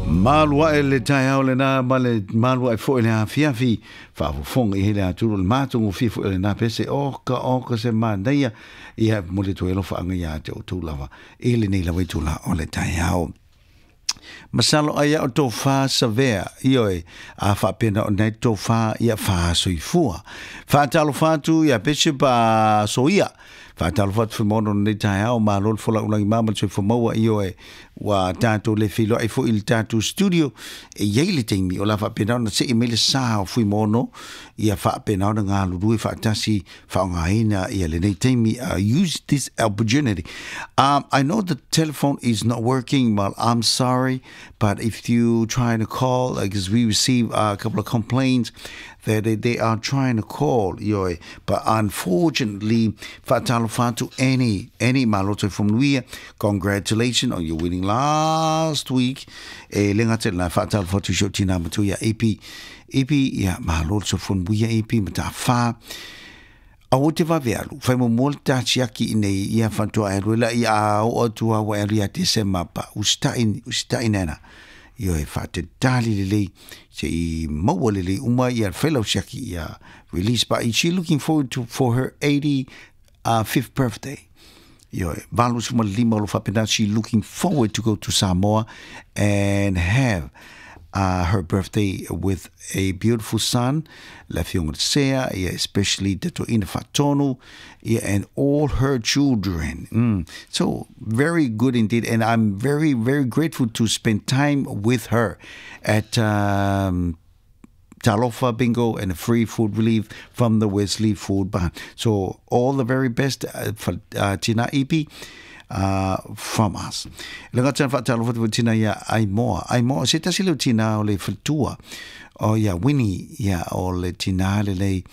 Malu ae le taeao lenā ma le malu ae foi le afiafi, faafofoga i ai le atulu o le matagofie foi o lenā pese. Oka oka se manaia, ia e momoli atu ai alofaaga ia te outou lava i lenei lava itula o le taeao. Masalo ai au tofa savea, ioe, a faapena ona ai tofa ia faasoifua. Faatalofa atu ia Bishop Soia. Faatalofa atu Fuimaono i lenei taeao, malo le folau lagima ma le soifua maua, ioe, ua tatou le feiloai foi i le tatou studio, e i ai le taimi o le a faapena ona see mai le sa o Fuimaono, ia faapena ona galulue faatasi faaaogaina ia lenei taimi, use this opportunity. I know the telephone is not working, well, I'm sorry, but if you try to call, because we receive a couple of complaints that they, they are trying to call, ioe, but unfortunately, faatalofa atu Annie, Annie malo soifua manuia, congratulations on your winning last week, e le gata i lena, faatalofa atu i si ou tina matua ia Ipi, Ipi, ia malo le soifua manuia Ipi, matafā, Aua te vave alu, whai muamua le tā tiaki i nei ia whantua e alu e la i a oo atu a ua e alu ia Tesema pa usitai, usitai nana. Ioe, whaatetali lelei, se i maua lelei uma ia whai lau siaki ia release. But she looking forward to for her 85th birthday. Ioe, 85 o lo whapena, she looking forward to go to Samoa and have her birthday with a beautiful son, le afioga le Sea, ia, especially te toeaina Faatonu, ia, and all her children. So, very good indeed, and I'm very, very grateful to spend time with her at Talofa Bingo and a free food relief from the Wesley Food Barn. So, all the very best for Tina Ipi from us. Le gata whaatalofa te tina ia Aimoa. Aimoa, se tasi leo tina o le whatua o ia Winnie ia o le tina le lei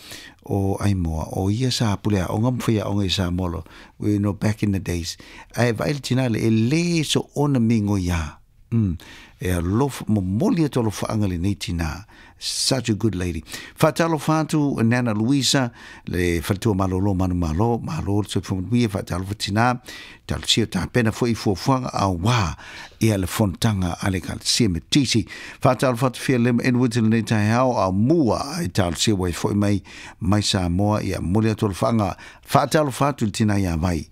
o Aimoa. O ia sa pule a onga mwhia onga i sa molo. We know back in the days. Ae vai le tina le e le so ona mingo ia. Mm. E alofa, momoli atu alofaaga lenei tinā. Such a good lady. Faatalofa atu Nana Louisa, le faletua malolo manumalo, malo le soifua manuia, faatalofa tinā, talosia tapena foi i fuafuaga auā ia le fonotaga a le Ekalesia Metisi. Faatalofa atu Fia Lema Edwards i lenei taeao, a mua i talosia ua e foi mai mai Samoa, ia momoli atu alofaaga, faatalofa atu i le tinā ia Vai.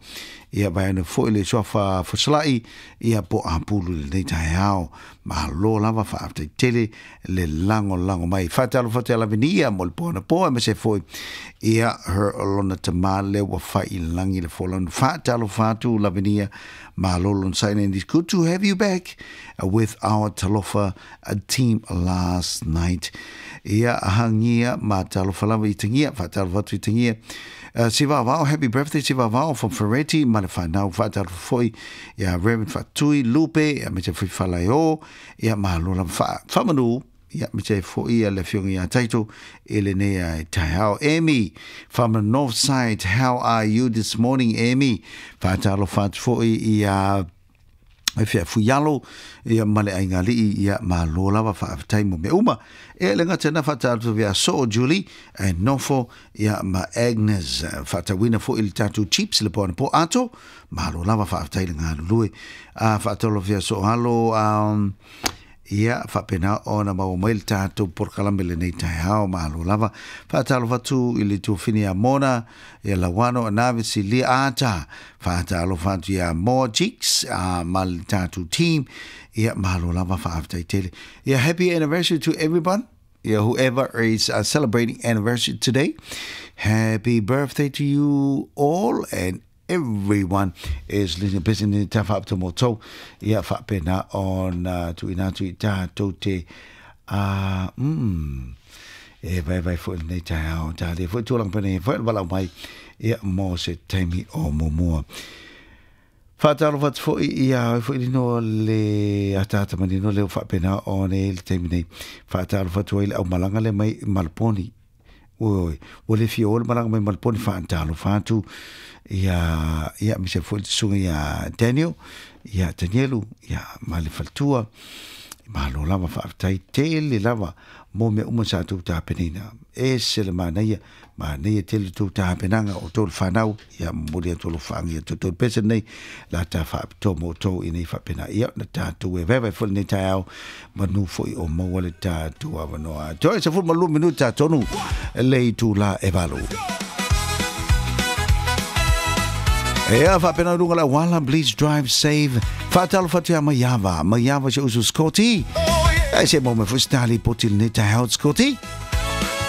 Ia vaeane foi le suafa Fesalai, ia po Apulu i lenei taeao. Malo lava faafetai tele le lagolago mai. Faatalofa atu ia Lavinia mo le po anapo aemaise foi ia her lona tama lea ua fai i lagi le folanu. Faatalofa atu Lavinia, malo lona saina and it's good to have you back with our Talofa team last night. Ia hangia ma talofa lava i tangia, faatalofa atu i tangia. Sivavao, happy birthday Sivavao from Ferretti, ma le whanau whaatalofa foi ia Reverend Fatui Lupe, ia me te foi Falaio, ia malo lava wha, whamanu, ia me te foi ia le afioga ia Taito i lenei ai taeao. Amy from the north side, how are you this morning Amy? Whaatalofa atu foi ia e fea fuialo ia ma le aiga-alii ia malo lava faafetai mo mea uma. E le gata na faatalofa ia Soo Julie e nofo ia ma Agnes faatauina foi i le tatou chips le po anapo ato malo lava faafetai le galulue. A faatalofa ia Soo Alo um, Ia, faapena ona maua mai le tatou polokalame lenei taeao, malo lava. Faatalofa atu i le tuafine ia Mona, ia Lauano, Anave, Silia, Ata. Faatalofa atu ia Moa Cheeks, a ma le tatou team. Ia, malo lava, faafetai tele. Ia, happy anniversary to everyone. Ia, whoever is celebrating anniversary today, happy birthday to you all and everyone is listening busy ni ta whaapito mo tou ia whaapena ona tuuina atu i tātou te a mm, e vaevae foi lenei taeao tālia foi tūlanga pene e foi le walau mai ia mo se taimi o muamua. Whaatalofa atu foi i a oi foi lino le ataata manino leo whaapena o nei le taimi nei. Whaatalofa atu ai le au malanga le mai Malponi. Oi, ua le fia o le malaga mai ma le poni faatalofa atu ia ia aemaise foi le susuga ia Daniel, ia Danielu, ia ma le faletua. Malo lava, faafetai tele lava mo mea uma sa tou tapenaina. E ese le manaia, manaia tele tou tapenaga o tou le fanau. Ia momoli atu alofaaga ia toutou le pese lenei la ta faapitoa mo outou ina ia faapena ia ona tatou e vaevae foi lenei taeao, manu foi o maua le tatou avanoa. Toe 12 minuta tonu le itula e 8. Ea faapena luga le auala, please drive safe. Faatalofa atu ia Maiava, Maiava si usu Scotty. E se mo me foi stali poti lenei taeao, Scotty.